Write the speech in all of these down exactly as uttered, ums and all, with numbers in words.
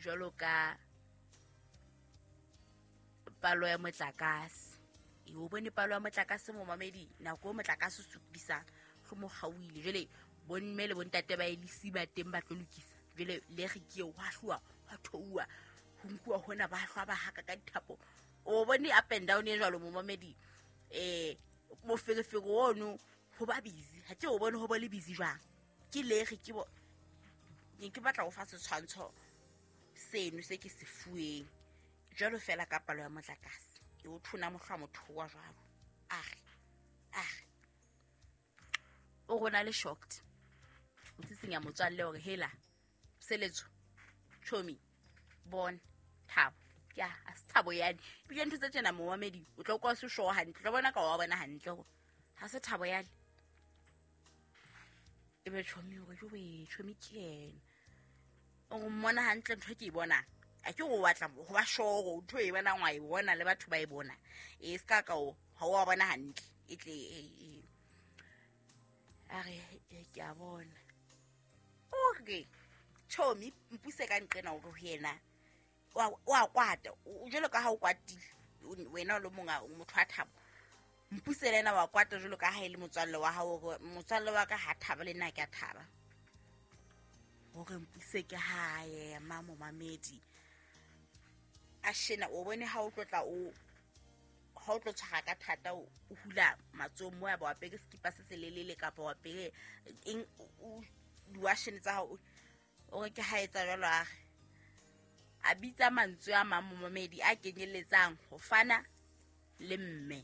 Jwalo ka palo ya motlakase. E o bone palo ya motlakase momamedi, nako e motlakase o sokodisang, go mo kgaohile. Jwale bomme le bontate ba elisi ba teng ba tlo lokisa. Jwale le re ke eo, hwa hluwa, hwa theoha, ho nkuwa hona ba hlwa ba haka ka dithapo. O bone up and down e jwalo momamedi. Eh, moferefere ono ho ba busy. Ha ke o bone ho bo le busy jwang. Ke le re ke bo ne ke batla ho fa setshwantsho seno se ke se fuweng. Jwalo fela ka palo ya motlakase. E o thona mohlwa motho wa jwalo. Are, are. O rona le shocked. O tsitsenya motswalle hore hela seletso chomi bona Thabo. Ke a se Thabo yane. Ebile ntho tse tjena momamedi o tlo kwa se sure hantle. O tlo bona ka wa bona hantle hore ha se Thabo yane. Ebe chomi hore jowe chomi ke yena. O mmona hantle ntho ke e bonang. A ke o batla ho ba sure hore ntho e bonang wa e bona le batho ba e bona. E ska ka o ha o bona hantle. E tle e a re ke a bona. O re chomi mpuse ka nqena hore ho yena wa wa kwata. O jwalo ka ha o kwatile wena o le monga motho wa Thabo. Mpuse le yena wa kwata jwalo ka ha e le motswalle wa hao hore motswalle wa ka ha thaba le nna ke a thaba. Hore mpuse ke ha ema momamedi. A shena o bone ha o tlotla o ha o tlo tshwara ka thata o hula matsoho mo ya ba apere skipa se selelele kapa wa apere eng o diwashene tsa hao. O re ke ha etsa jwalo a re a bitsa mantswe a mang momamedi a kenyelletsang ho fana le mme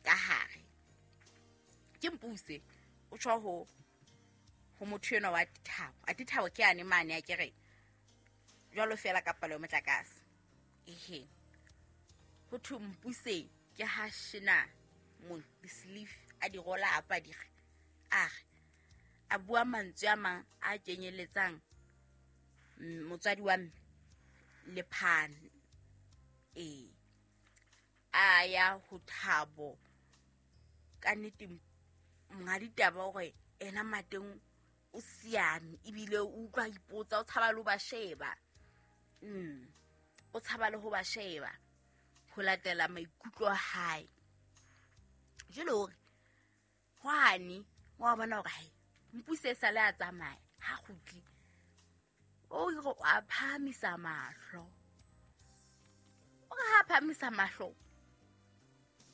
ka hare. Ke mpuse o tjho ho ho motho enwa wa Thabo. A Thabo ke ane mane a ke re jwalo fela ka palo ya motlakase. Ehe. Ho thwe mpuse ke ha shena mo di-sleeve a di rola apa di re a re a bua mantswe a mang a kenyelletsang motswadi wa mme le phane. E a ya ho Thabo ka nnete monga ditaba hore ena mateng o siame ebile o utlwa ipotsa o tshaba le ho ba sheba. Mm. O tshaba le ho ba sheba ho latela maikutlo a hae. Jwale hore hwane wa bona hore hai mpuse sa le a tsamaya ha kgutli. O re a phahamisa mahlo. O re ha phahamisa mahlo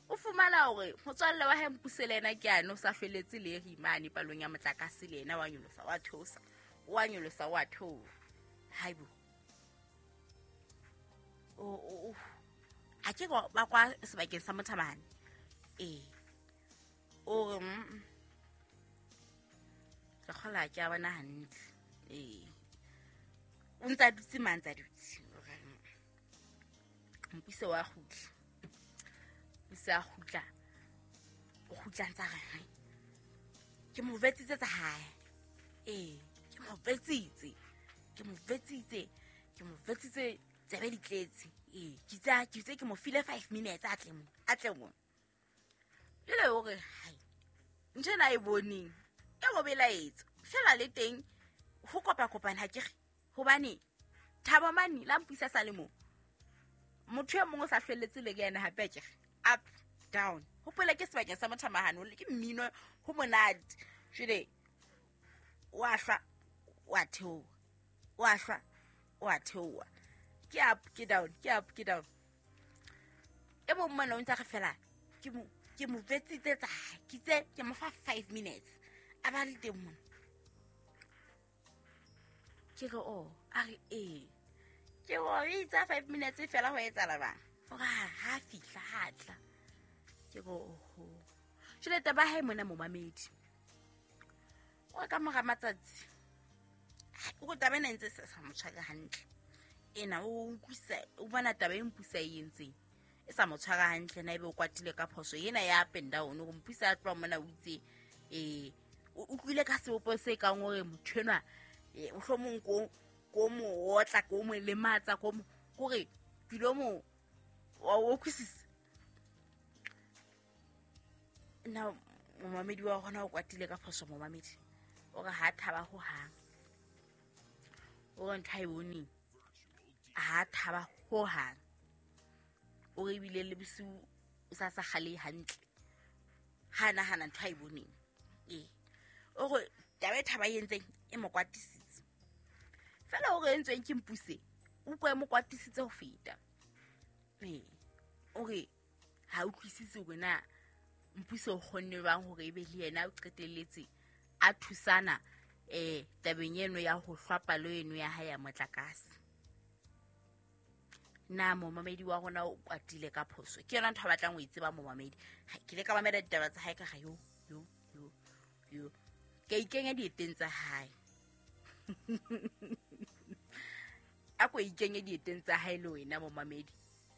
o fumana hore motswalle wa hae mpuse le yena ke ane o sa hlweletse le rimane palong ya motlakase le yena wa nyolosa wa theosa wa nyolosa wa theoha. Haibo. O o a ke ba kwa sebakeng sa Mothabane. Eh. O re ke kgola ke a bona hantle. Eh. O ntsa dutse mang tsa dutse. Mpuse wa kgutla. Mpuse a kgutla. O kgutla ntsa re ke mo vetsitse tsa hae. Eh, ke mo vetsitse. Ke mo vetsitse. Ke mo vetsitse tsebe di tletse. Eh, ke tsa ke tse ke mo file five minutes a tle mo. A tle mo. Jwale o re hai. Ntho ena e boneng e mo belaetsa. Fela le teng ho kopa kopana ha ke re hobane Thabo mane la mpisa sa le mo. Motho e mong o sa hlwelletse le yena hape ke re up down. Hopola ke sebakeng sa Mothamahane ke mmino ho monate. Jwale wa hlwa wa theoha. Wa hlwa wa theoha. Ke up ke down ke up ke down. E mong mona o ntsa re fela ke mo ke mo vetsitse tsa ke tse ke mo fa five minutes. A ba le teng mona. Ke re o a re e ke o itsa five minutes fela ho etsahala bang. O re ha fihla ha tla. Ke re oho. Jwale taba hae mona momamedi. O ka mora matsatsi. O taba ena ntse se sa mo tshware hantle. Ena o utlwisa o bona taba e mpusa e entseng. E sa mo tshwara hantle na ebe o kwatile ka phoso ena ya up and down hore mpusa a tloha mona o itse eh o utlwile ka sebopo se kang hore motho enwa eh mohlomong ko ko mo otla ko mo lematsa ko mo hore ke lo mo o utlwisisa. Na momamedi wa rona o kwatile ka phoso momamedi o re ha thaba ho hang. O re ntho ha e boneng Ha thaba ho hang. O re bile le bosiu o sa sa gale hantle. Ha nahana ntho a e boneng. Ee. O re taba e thaba e entseng e mo kwatisitse. Fela o re entsweng ke Mpuse, o utlwa e mo kwatisitse ho feta. Ee. O re ha utlwisise hore na Mpuse o kgonne jwang hore ebe le yena o qetelletse a thusana eh tabeng eno ya ho hlwa palo eno ya hae ya motlakase. Na momamedi wa rona o kwatile ka phoso? Ke yona ntho a batlang ho e tseba momamedi. Ke ile ka mamela ditaba tsa hae ka ga yo yo yo yo. Ke ikenya dieteng tsa hae. A ko ikenye dieteng tsa hae le wena momamedi.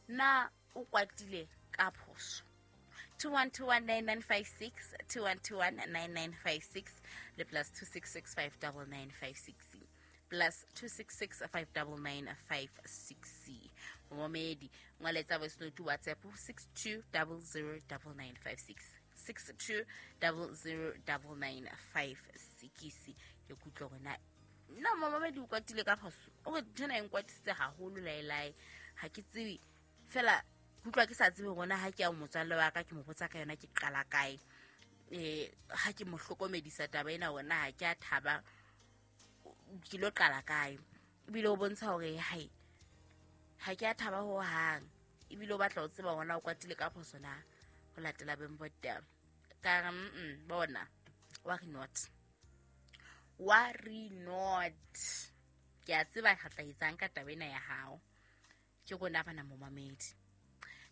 Na o kwatile ka phoso? two one two one nine nine five six, two one two one nine nine five six le plus two six six five nine nine five six, plus two six six five nine nine five six. Momamedi ngwaletsa voice note WhatsApp six two zero zero nine nine five six, six two zero zero nine nine five six. Ke kutlwa hore na nna momamedi o kwatile ka phoso. O re nthwena e nkwatisitse haholo laelae. Ha ke tsebe fela, kutlwa ke sa tsebe hore na ha ke ya motswalle wa ka ke mo botsa ka yona ke qala kae. Eh ha ke mo hlokomedisa taba ena hore na ha ke a thaba ke lo qala kae. Ebile o bontsha hore hai ha ke a thaba ho hang. Ebile o batla ho tseba hore na o kwatile ka phoso na ho latela beng ba ditaba. Ka re mm bona worry not. Worry not. Ke a tseba re tla etsang ka taba ena ya hao. Ke rona bana momamedi.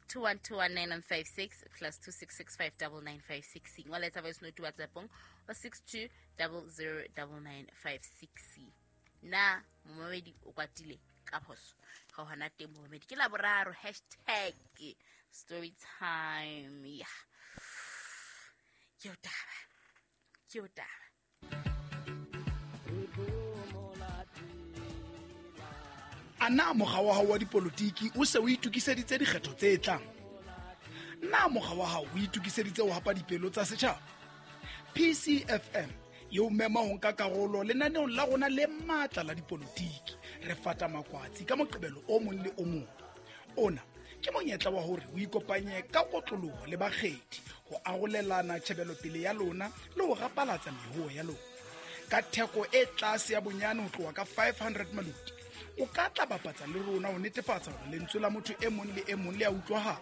two one two one nine nine five six plus two six six five nine nine five six. Ngwaletsa voice note WhatsApp-ong o six two zero zero nine nine five six. Na momamedi o kwatile ka phoso? Ga hona teng momamedi. Ke Laboraro hashtag story time. Yeah. Ke o taba. Ke o taba. A na mokga wa hao wa dipolotiki o se o itokiseditse dikgetho tse tlang? Na mokga wa hao o itokiseditse ho hapa dipelo tsa setjhaba? P C F M e o mema ho nka karolo lenaneong la rona le matla la dipolotiki. Re fata makwatsi ka Moqebelo o mong le o mong. Ona ke monyetla wa hore o ikopanye ka kotloloho le bakgethi ho arolelana tjhebelopele ya lona le ho rapalatsa mehoo ya lona. Ka theko e tlase ya bonyane ho tloha ka five hundred maluti, o ka tla bapatsa le rona ho netefatsa hore lentswe la motho e mong le e mong le a utlwahala,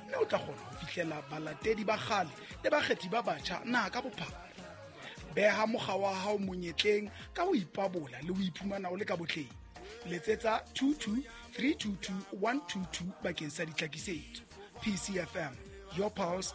mme o tla kgona ho fihlela balatedi ba kgale le bakgethi ba batjha naha ka bophara. Beha mokga wa hao monyetleng ka ho ipabola le ho iphumana o le ka botleng. Letsetsa two two three two two one two two bakeng sa ditlhakisetso. P C F M, your pulse,